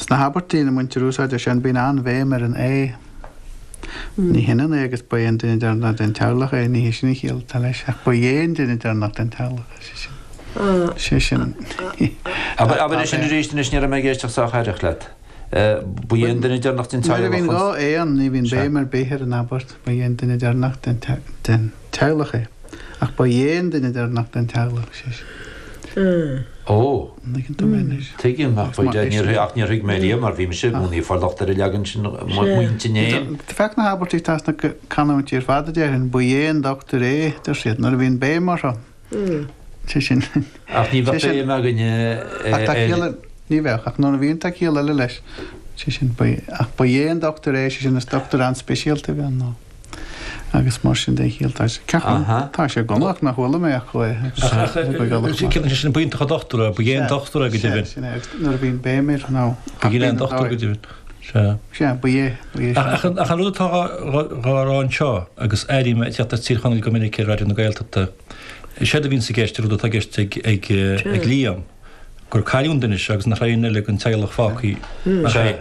Sna habairtí ina mbaintear úsáid as sin, bíonn an-bhéim ar an é. Ní hionann é agus ba é an duine deireanach den teaghlach é, ní hé sin an chiall atá leis, ach ba é an duine deireanach den teaghlach é, sé sin. Sé sin. Abair é sin arís anois, ní raibh mé ag éisteacht sách aireach leat. Ba é an duine deireanach den teaghlach. Nuair a bhíonn 2 é ann, ní bhíonn béim ar bith ar an abairt, ba é an duine deireanach den teaghlach é. Ach ba é an duine deireanach den teaghlach, sé sin. Ó. An dtuigeann tú mé anois? Tuigim, ach ba é, níor, ach níor thuig mé riamh mar bhí mise i gcónaí ag fáil locht ar an leagan sin mo intinn fhéin. Féach na habairtí atá sna canúintí ar fad a déarfainn, ba é an dochtúir é, deir siad, nuair a bhíonn béim orthu. Sé sin. Ach ní bheadh béim againne ar. Ach tá ciall, ní bheadh, ach nuair a bhíonn tá ciall eile leis. Sé sin, ba, ach ba é an dochtúir é, sé sin, is dochtúir an-speisialta a bhí ann nó. Agus mar sin den chiall, tá sé, ceapaim, tá sé gonach nach chuala mé acu é. Ach, ciallaíonn sé sin ba iontach an dochtúir é, ba é an dochtúir é go deimhin. Sea, sin é, agus nuair a bhíonn béim air nó. Ba é an dochtúir go deimhin. Sea. Sea, ba é, ba é. Ach an rud atá dhá rá anseo, agus airím ag teacht as Tír Chonaill go minic ar Raidió na Gaeltachta, séard a bhíonns i gceist, an rud atá i gceist ag Liam, gur cailleadh an duine seo agus nach raibh aon duine eile den teaghlach fágtha ach é.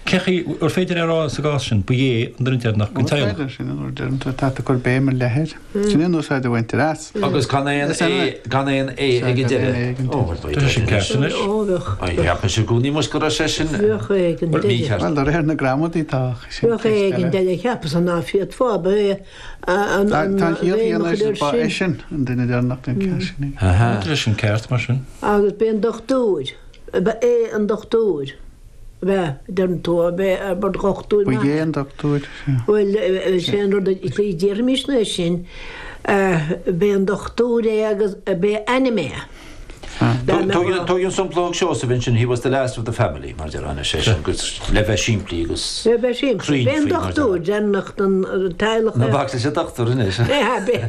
Cé chaoi ar féidir é a rá sa gcás sin, ba é an duine deireanach den Is teaghlach? féidir, sin an rud a deireann tú, tá tú ag cur béim ar leith air. Sin é an úsáid a bhaintear as. Agus gan aon é, gan aon é ag an deireadh. Ó, bhuel, Tá sé sin ceart anois. Ó, bheadh. Ai, cheap mise i gcónaí muis go raibh sé sin Bheadh é ag an deireadh. mícheart. Bhuel, de réir na gramadaí tá, ach sin Bheadh é ceist ag an eile. deireadh, cheapas ná féadfá, ba é an Tá an chiall bhéim chéanna a chur leis, ba air é sin. sin an duine deireanach den cheart sin é. Tá sé sin ceart, mar sin. Agus b'é an dochtúir, ba é an dochtúir. Ab ea, deireann tú, ab ea, ba dhochtúir Ba maith é é. an dochtúir, sea. Bhuel, sé an rud a déarfaimis ná sin, b'é an dochtúir é agus b'é a ainm é. Dá mbeadh. Tóg an sampla a thug Seosamh ansin, he was the last of the family, mar déarfá anois, é sin, agus le bheith simplí agus Le bheith simplí. cruinn B'é an faoi, mar déarfá. dochtúir deireanach den teaghlach Ná é. bac leis an dochtúir anois. B'é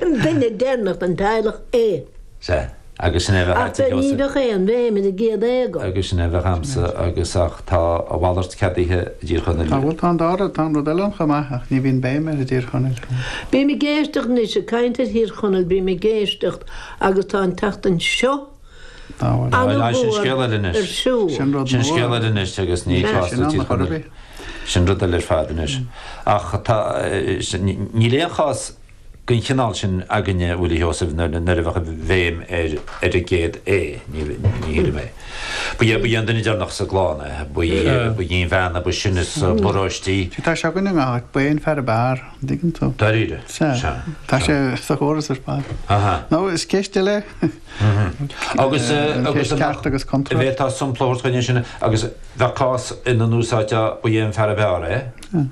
an duine deireanach den teaghlach é. Sea. Agus sin é a bheadh Ach a'd, a ní Sheosaimh. bheadh aon bhéim ar an gcéad é agam. Agus sin é a bheadh a'msa, agus ach tá a mhalairt ceadaithe i dTír Chonaill. Tá, bhuel, tá an dara, tá an rud eile ann chomh maith, ach ní bhíonn béim air i dTír Chonaill. Bím ag éisteacht anois, ag caint ar Thír Chonaill, bím ag éisteacht agus tá an tseachtain seo Tá, bhuel. Á, sin an-mhór scéal eile ar anois. siúl. Sin rud Sin nua. scéal eile anois agus ní Sea, cás sin do ann Thír a chor ar Chonaill. bith. Sin rud eile ar fad anois. Ach tá, níl aon chás den chineál sin againne, a Mhilí Sheosaimh, nuair a bheadh an bhéim ar ar an gcéad é, ní shílim é. Ba é ba é an duine deireanach sa gclann é, ba í ba í an bhean a ba sine sa bparóiste. Sea, tá sé againn i ngach áit, ba é an fear ab fhearr, an dtuigeann tú? Dáiríre? Sea. Sea. Tá sé sa chóras ar fad. Aha. Nó is ceist eile é. Agus An agus cheist ceart agus contúirt. Bhféadfá sampla a thabhairt chuige sin agus bheadh cás ina n-úsáidteá ba é an fear ab fhearr é.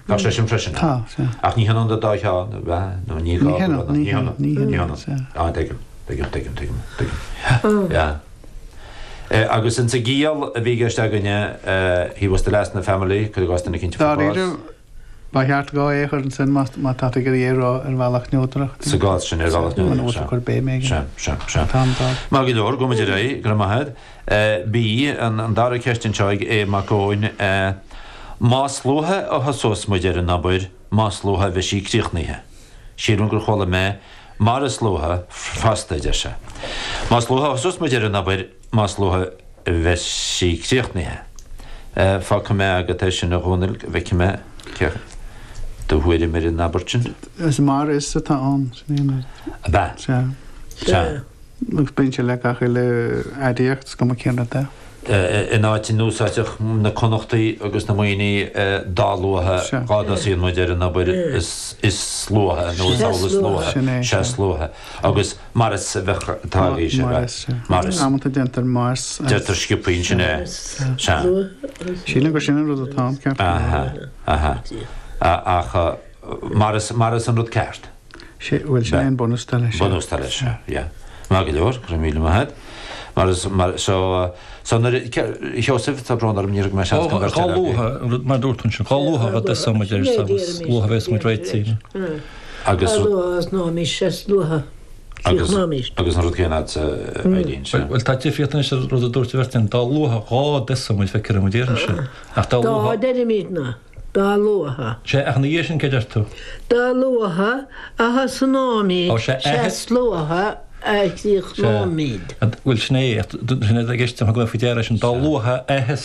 Bheadh sé sin freisin. Tá, sea. Ach ní hionann an dá cheann, ab ea? Nó ní gá Ní go hionann, raibh. ní hionann, ní ní hionann, hionann. sea. Ah, tuigim, tuigim, tuigim, tuigim, tuigim. Yeah. Agus insa gciall a bhí i gceist againne, he was the last in the family, cuir i gcás duine eicínt a fuair bás. Dáiríre, ba cheart 2 é a chur ansin má má tá tú ag iarraidh é a rá ar bhealach neodrach. Sa gcás sin, ar bhealach Muna neodrach, bhfuil tú sea. ag cur béim éigin. Sea, sea, sea. Tá an dá. Maith go leor, gabhfaimid ar aghaidh, go raibh maith agat. B, An dara ceist anseo ag Aodh Mac Eoin, Más luaithe a thosós muid ar an obair, más luaithe a bheidh sí críochnaithe. Sílim gur chuala mé mar is luaithe fosta, a deir sé. Más luaithe a thosós muid ar an obair, más luaithe a bheidh sí críochnaithe. Fágfaidh mé agat é sin, a Dhónaill, go bhfeicfidh mé cé do thuairim ar an abairt sin. Is mar is atá ann, sin é an rud. Ab ea? Sea. Sea. Agus bíonn sé le gach uile aidiacht, is cuma cén rud é. In áit a n-úsáidfeadh na Connachtaigh agus na Muimhnigh dá luaithe dhá dtosaíonn muid ar an obair is luaithe nó is amhlaidh is luaithe, sea is luaithe. Agus mar is a bheadh atá arís, ab ea? Mar is. Amanta déantar mars as. Deirtear sciobthaí ansin é. Sea. Sílim gur sin an rud atá ann, ceart go leor. Aha, aha. Ach mar is, mar is an rud ceart. Sé, bhuel, sin é an bunús atá leis. Bunús atá leis, yeah. Maith go leor, go raibh míle maith agat. Mar is, mar, so, so nuair a, Sheosaimh, tá brón orm, níor thug mé seans don bheirt Dhá eile luaithe, an rud mar a dúirt tú ansin, dhá luaithe a dtosóidh muid air, is luaithe a bheas muid réitithe. Agus. Dá luaithe a thosnóimis, is luaithe a chríochnóimis. Agus an rud céanna agatsa, Eileen, sea. Bhuel, tá difríocht anois ar an rud a dúirt an bheirt againn, dá luaithe dhá dtosóidh muid, feictear dom a déarfainnse, ach dá Dá luaithe. deirimid ná. Dá luaithe. Sea, ach ina dhiaidh sin, cé deir tú? Dá luaithe a thosnóimid, Ó, sea, sea is luaithe a chríochnóimid. Sea, bhuel, sin é, sin é i gceist, thug mé faoi deara é sin, dá luaithe a thosnóimid.